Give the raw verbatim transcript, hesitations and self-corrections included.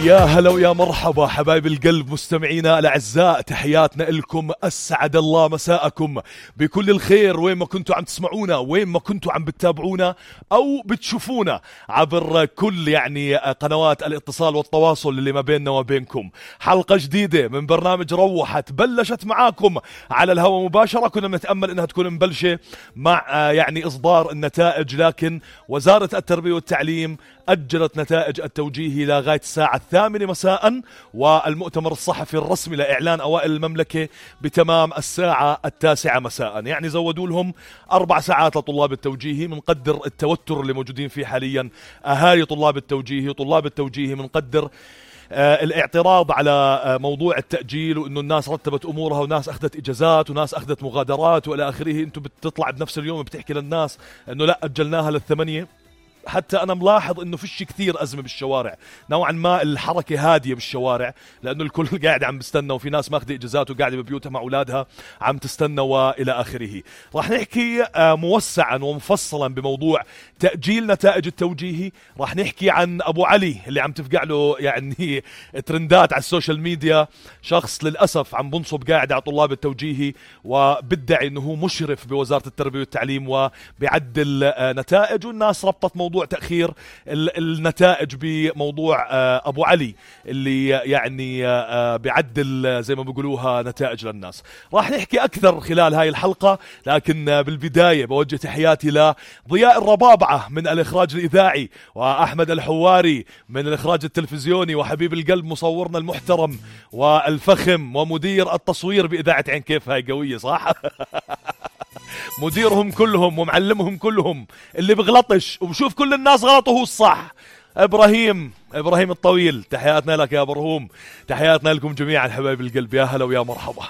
يا هلا ويا مرحبا حبايب القلب مستمعينا الأعزاء، تحياتنا لكم. أسعد الله مساءكم بكل الخير وين ما كنتوا عم تسمعونا، وين ما كنتوا عم بتتابعونا أو بتشوفونا عبر كل يعني قنوات الاتصال والتواصل اللي ما بيننا وبينكم. حلقة جديدة من برنامج روحت بلشت معاكم على الهواء مباشرة. كنا بنتأمل إنها تكون مبلشة مع يعني إصدار النتائج، لكن وزارة التربية والتعليم أجلت نتائج التوجيهي لغاية الساعة الثامنة مساء، والمؤتمر الصحفي الرسمي لإعلان أوائل المملكة بتمام الساعة التاسعة مساء. يعني زودوا لهم أربع ساعات لطلاب التوجيهي. منقدر التوتر اللي موجودين فيه حاليا أهالي طلاب التوجيهي وطلاب التوجيهي. منقدر آه الاعتراض على آه موضوع التأجيل، وإنه الناس رتبت أمورها وناس أخذت إجازات وناس أخذت مغادرات وإلى آخره. أنتم بتطلع بنفس اليوم بتحكي للناس إنه لا أجلناها للثمانية. حتى أنا ملاحظ إنه فيش كثير أزمة بالشوارع، نوعا ما الحركة هادية بالشوارع، لأنه الكل قاعد عم بستنى، وفي ناس ماخذة إجازات وقاعدة ببيوتها مع أولادها عم تستنى وإلى آخره. راح نحكي موسعا ومفصلا بموضوع تأجيل نتائج التوجيهي. راح نحكي عن أبو علي اللي عم تفقع له يعني ترندات على السوشيال ميديا، شخص للأسف عم بنصب قاعد على طلاب التوجيهي وبدعي إنه هو مشرف بوزارة التربية والتعليم وبيعدل نتائج، والناس ربطت موضوع تأخير النتائج بموضوع أبو علي اللي يعني بيعدل زي ما بيقولوها نتائج للناس. راح نحكي أكثر خلال هاي الحلقة، لكن بالبداية بوجه تحياتي لضياء الربابعة من الإخراج الإذاعي، وأحمد الحواري من الإخراج التلفزيوني، وحبيب القلب مصورنا المحترم والفخم ومدير التصوير بإذاعة عين كيف. هاي قوية صح؟ مديرهم كلهم ومعلمهم كلهم اللي بغلطش وبشوف كل الناس غلط وهو الصح. إبراهيم إبراهيم الطويل، تحياتنا لك يا برهوم. تحياتنا لكم جميعا حبايب القلب، يا هلا ويا مرحبا.